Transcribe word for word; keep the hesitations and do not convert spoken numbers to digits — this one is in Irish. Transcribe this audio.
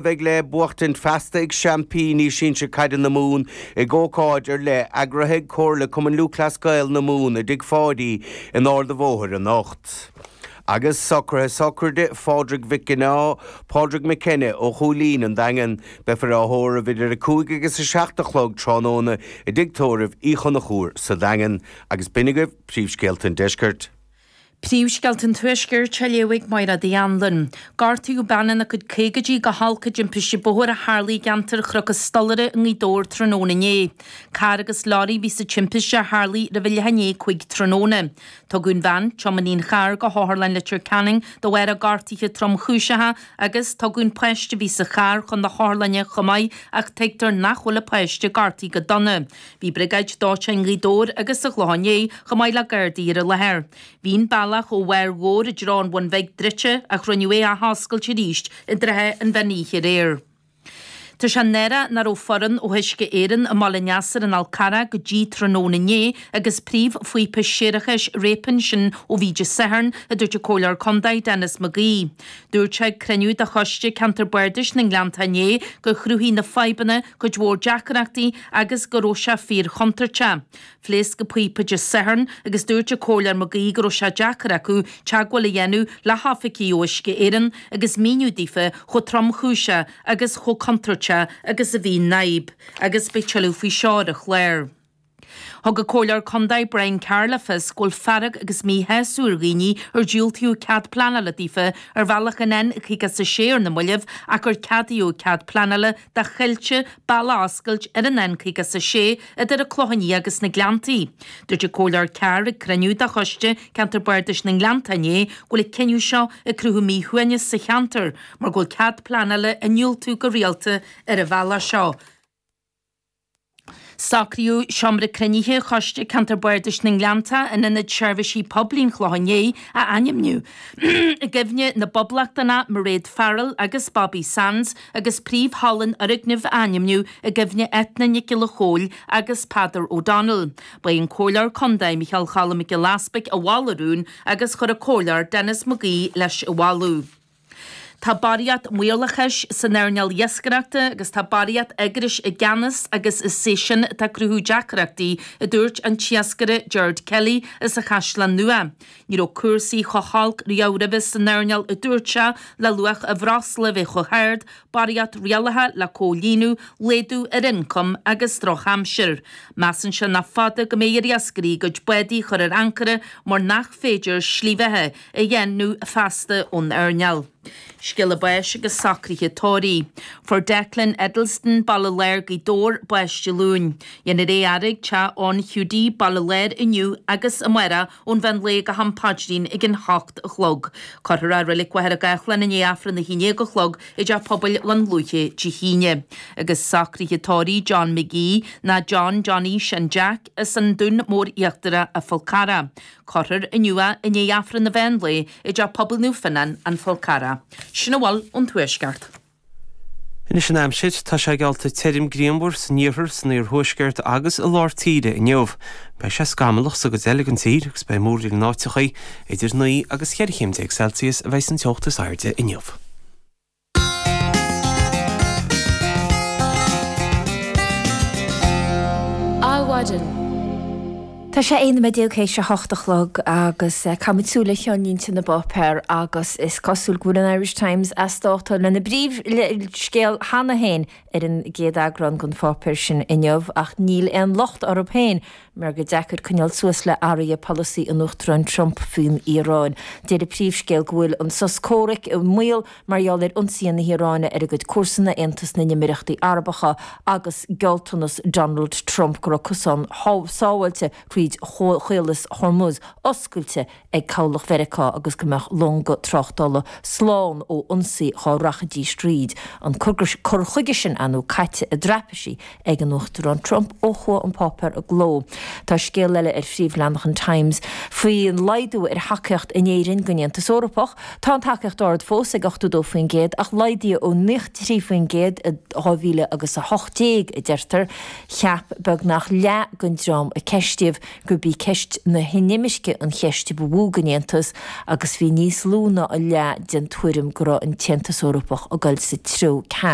Bheidh le buachtaint feasta ag seaimpíní sinsir caide na Mumhan ag ócáid ar leith eagraithe ag Comhairle Cumann Lúthchleas Gael na Mumhan i dTigh Pháidí in Ard an Bhóthair anocht. Agus socruithe sochraide Phádraig Mhic Ginneá, Pádraig McKenna ó Chúilín an Daingean, beifear á thórramh idir a cúig agus a seacht a chlog tráthnóna i dTigh Tórraimh Uí Chonchúir sa Daingean. Agus b'in agaibh príomhscéalta an deiscirt. Príomhscéalta an Tuaiscirt á léamh ag Máire Uí Anluain. Gortaíodh bean ina cuid caogaidí go holc i dtimpiste bóthair a tharlaigh i gceantar Chnoc an Stolaire i nGaoth Dobhair tráthnóna inné. Carr agus leoraí a bhí sa timpiste a tharlaigh roimh a leath i ndiaidh a cúig tráthnóna. Tugadh an bhean, tiománaí an chairr, go hOtharlann Leitir Ceanainn de bharr a gortuithe tromchúiseacha agus tugadh an páiste a bhí sa charr chun na hotharlainne chomh maith ach tuigtear nach bhfuil an páiste gortaithe go dona. Bhí briogáid dóiteáin Ghaoth Dobhair agus an Chlocháin Léith chomh maith le Gardaí ar an láthair. Bhí an bealach ó bharr Dhobhair i dtreo an Bhun Bhig druidte ach rinneadh é a athoscailt arís i dtrátha an mheán oíche aréir. Tá sé náireach nach raibh foireann ó Uisce Éireann i mBaile an Easair an Fhál Carrach go dtí tráthnóna inné agus príomhphíopa séarachais réabtha ansin ó bhí Dé Sathairn, a dúirt an Comhairleoir Contae Denis McGee. Dúirt sé ag cruinniú de Choiste Ceantar Bardais na nGleanntach inné gur chruthaigh na fadhbanna cuid mhór deacrachtaí agus go raibh sé fíorchontúirteach. Phléasc an píopa Dé Sathairn agus dúirt an Comhairleoir McGee go raibh sé deacair acu teagmháil a dhéanamh le hoifigigh ó Uisce Éireann agus míniú daofa chomh tromchúiseach agus chomh contúirteach agus a bhí an fhadhb. Agus beidh tuilleadh faoi seo ar an chlár. Thug an Comhairleoir Contae Brian Carr le fios go bhfuil fearg agus míshásamh ar dhaoine ar diúltaíodh cead pleanála daofa ar bhealach an N caoga is a sé ar na mallaibh ach gur ceadaíodh cead pleanála do Choillte bealach a oscailt ar an N caoga is a sé idir an Clochán Liath agus na Gleanntaí. Dúirt an Comhairleoir Carr ag cruinniú de Choiste Ceantar Bardais na nGleannta inné go bhfuil an cinneadh seo ag cruthú míshuaimhneas sa cheantar mar go bhfuil cead pleanála á ndiúltú go rialta ar an bhealach seo. Socraíodh seomra cruinnithe Choiste Ceantar Bardais na nGleannta in Ionad Seirbhísí Poiblí an Chlocháin Léith a ainmniú i gcuimhne na bPoblachtánach Mairéad Farrell agus Bobby Sands agus príomh-halla an fhoirgnimh a ainmniú i gcuimhne Eithne Nic Giolla Chóill agus Peadar O'Donnell. Ba é an Comhairleoir Contae Micheál Choilm Mac Giolla Easpaig a mhol an rún agus chuir an Comhairleoir Denis McGee leis an mholadh. Tá barraíocht maorlathais san earnáil iascaireachta agus tá barraíocht eagrais i gceannas agus is é sin atá ag cruthú deacrachtaí, a dúirt an t-iascaire Gerard Kelly as an Chaisleán Nua. Ní raibh cúrsaí chomh holc riamh roimhe san earnáil, a dúirt sé, le luach an bhreosla a bheith chomh hard, barraíocht rialacha le comhlíonadh, laghdú ar ioncam agus drochaimsir. Measann sé nach fada go mbeidh ar iascairí a gcuid bádaí a chur ar ancaire mar nach féidir slí bheatha a dhéanamh feasta ón earnáil. Scéala báis agus socruithe tórraimh. Fuair Declan Eddleston, Baile Láir, Gaoth Dobhair, bás Dé Luain. Déanfar é a fhaire ag teach Eoin Hiúdaí, Baile Láir inniu agus amárach ón mheán lae go ham paidrín ag an hocht a chlog. Cuirfear é i Reilig Mhachaire Gathlán i ndiaidh Aifreann a haon déag a chlog i dTeach Pobail Dhún Lúiche Dé hAoine. Agus socruithe tórraimh John McGee ná John Johnny Sean Jack as an Dún Mór Íochtarach, an Fál Carrach. Cuirfear inniu é i ndiaidh Aifreann an mheán lae i dTeach Pobail Naomh Fionnán, An Fál Carrach. Sin a bhfuil ón Tuaisceart. Anois an aimsir, tá sé geallta tirim grianmhar san iarthar, san iarthuaisceart agus i lár tíre inniu. Beidh sé scamallach sa gcuid eile den tír agus beidh múraíl in áiteacha. Idir naoi agus cheithre chéim déag Celsius a bheidh an teocht is airde inniu. Adhmhaidin. Tá sé aon nóiméad déag théis a hocht a chlog agus caithfimid súil ar cheannlínte na bpáipéar agus is cosúil go bhfuil an Irish Times as dáta lena bpríomhscéal cheana féin ar an gcéad eagrán den pháipéar sin inniu ach níl aon locht orthu féin mar gur deacair coinneáil suas le athruithe polasaí an Uachtaráin Trump faoin Iaráin. Deir an príomhscéal go bhfuil an sos comhraic i mbaol mar gheall ar ionsaithe na hIaráine ar a gcuid comharsana, Aontas na nÉimíríochtaí Arabacha agus gealltanas Donald Trump go raibh cosán sábháilte thríd Chaolas Hormuz oscailte ag cabhlach Mheiriceá agus go mbeadh longa tráchtála slán ó ionsaí dhá rachaidís tríd. An cur chuige sin, ar ndóigh, caite i dtraipisí ag an Uachtarán Trump ó chuaigh an páipéar i gcló. Tá scéal eile ar phríomhleathanach an Times faoin laghdú ar thacaíocht in Éirinn don Aontas Eorpach. Tá an tacaíocht ard fós ag ochtó dó faoin gcéad ach laghdaíodh ó naocha trí faoin gcéad i dhá mhíle agus a hocht déag, a deirtear. Cheap beagnach leath den dream a ceistíodh gurb í ceist na hinimirce an cheist ba mhó don Aontas agus bhí níos lú ná a leath den tuairim go raibh an tAontas Eorpach ag dul sa treo ceart.